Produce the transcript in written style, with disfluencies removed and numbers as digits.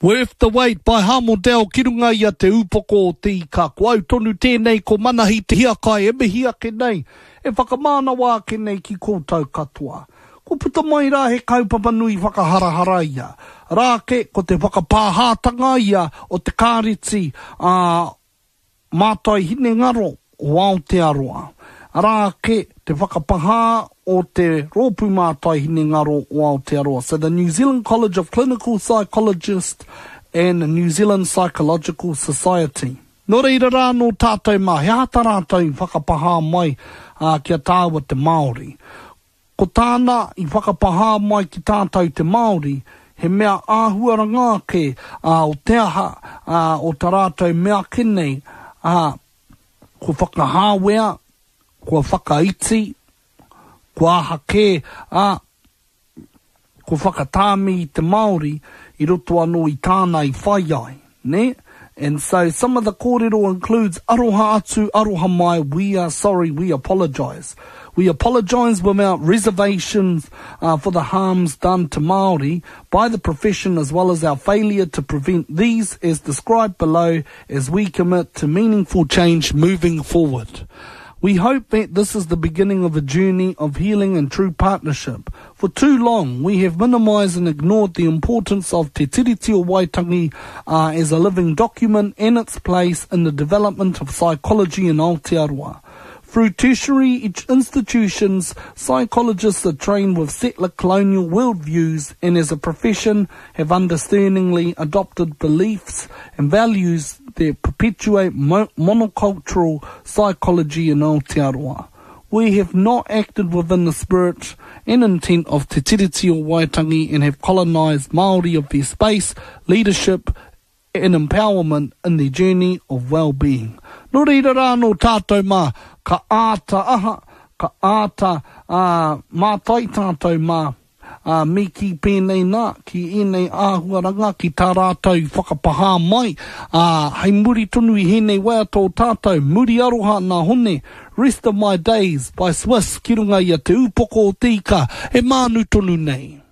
Worth the Wait by Hamo Dell ki runga i a Te Upoko o Te Ika. Ko au tonu tēnei ko Manahi Te Hiakai e mihi ake nei, e whakamānawa ake nei ki koutou katoa. Kua puta mai rā he kaupapa nui whakaharahara ia. Rā ake ko te whakapāhātanga ia o te kāreti a Mātai Hinengaro o Aotearoa. Arā ake te whakapahā o te Rōpū Mātai Hinengaro o Aotearoa, so the New Zealand College of Clinical Psychologists and New Zealand Psychological Society. Nō reira rā anō tātou mā, he aha tā rātou i whakapahā mai ki a tāua te Māori? Ko tāna i whakapahā mai ki tātou te Māori, he mea āhuaranga ake o te aha, o ta rātou mea ake nei, ā, kua whakahāwea, kua whakaiti, kua aha kē, ā, kua whakatāmi i te Māori i roto anō i tāna i whai ai, nē? And so some of the kōrero includes aroha atu, aroha mai, we are sorry, we apologise. We apologise without reservations uh, for the harms done to Māori by the profession as well as our failure to prevent these as described below as we commit to meaningful change moving forward. We hope that this is the beginning of a journey of healing and true partnership. For too long, we have minimised and ignored the importance of Te Tiriti o Waitangi uh, as a living document and its place in the development of psychology in Aotearoa. Through tertiary institutions, psychologists are trained with settler colonial worldviews and as a profession have understandingly adopted beliefs and values that perpetuate mo monocultural psychology in Aotearoa. We have not acted within the spirit and intent of Te Tiriti o Waitangi and have colonised Māori of their space, leadership and empowerment in their journey of well-being. Nō reira rā anō tātou mā, ka āta aha, ka āta mātai tātou mā, Ā, me kī pēnei nā, ki ēnei āhuaranga, ki tā rātou i whakapahā mai, ā, hei muri tonu i hēnei waiata o tātou, Muri Aroha nā Hone, Rest of My Days by Swiss ki runga i a Te Ūpoko o Te Ika, e mānu tonu nei.